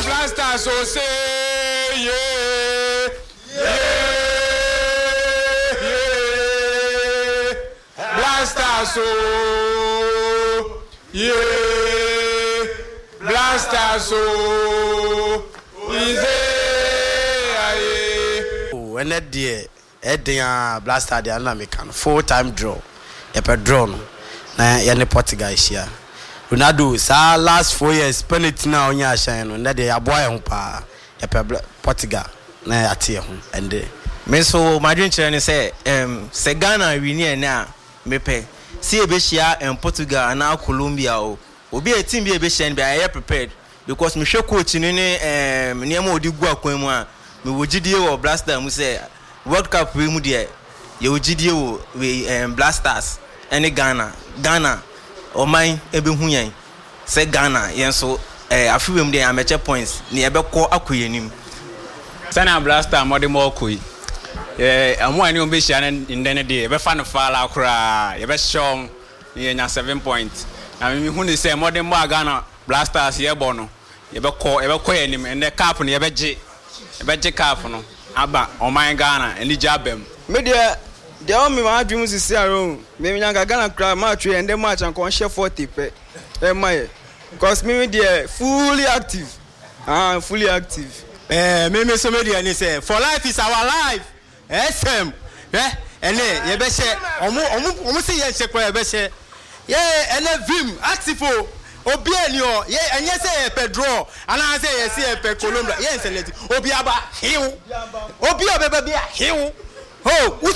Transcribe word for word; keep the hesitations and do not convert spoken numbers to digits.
Black Stars o say yeah, yeah, yeah. Black Stars o, yeah. Black Stars o, ize aye. O ɛnɛ deɛ ɛden a Black Star deɛ ana meka no full time draw, yɛpɛ draw no na yɛne Portugal ahyia. Ronaldo saa last four years penalty na ɔnyɛ ahyɛn no, nnɛ deɛ yɛaboa yɛn ho paa. Yɛpɛ Portugal na yɛate yɛn ho ɛnde. Me nso m'adwenkyerɛ ne sɛ um, sɛ Ghana win ɛnɛ a, mepɛ sɛ yɛbɛhyia um, Portugal anaa Colombia o, obi a team bi a yɛbɛhyia no bi a, yɛyɛ prepared because mehwɛ coach no ne um, nneɛma a ɔde gu akwan mu a, mewɔ gyidie wɔ Black Star mu sɛ World Cup wei mu deɛ, yɛwɔ gyidie wɔ wei um, Black Stars ɛne Ghana Ghana ɔman ɛbɛhu yɛn sɛ Ghana yɛn nso eh, afe wei mu deɛ yɛamɛkyɛ points ne yɛbɛkɔ akɔ yɛn anim. Sɛnea Black Star mmɔde ma ɔkɔ yi, yɛ ɔmo a ɛne ɔmo bɛhyia no ndɛ no deɛ, yɛbɛfa no faala koraa, yɛbɛhyɛ ɔmo na yɛnya seven point. Na mehu ne sɛ mmɔde mmɔ a Ghana Black Stars yɛbɔ no, yɛbɛkɔ yɛbɛkɔ yɛn anim. Ɛndɛ cup no yɛbɛgye, yɛbɛgye cup no aba ɔman Ghana anigye aba mu. Me deɛ, deɛ ɔwɔ me adwene mu sisi ara o, me nyanka Ghana koraa match yɛ ndɛ match anka ɔnhyɛ forty pɛ ɛma yɛ, because me me deɛ, fully active, ah, fully active. Ɛɛ me me so me deɛ ne sɛ for life is our life. Sm hwɛ, ɛnɛ yɛbɛhyɛ ɔmo ɔmo ɔmo sɛ yɛnhyɛ koraa, yɛbɛhyɛ yɛ. Ɛnɛ vim active o, obiara ni hɔ yɛ. Ɛnyɛ sɛ yɛpɛ draw anaasɛ yɛsɛ yɛpɛ Colombia, yɛn select obi aba hew, obi a ɔbɛba bi a hew ho.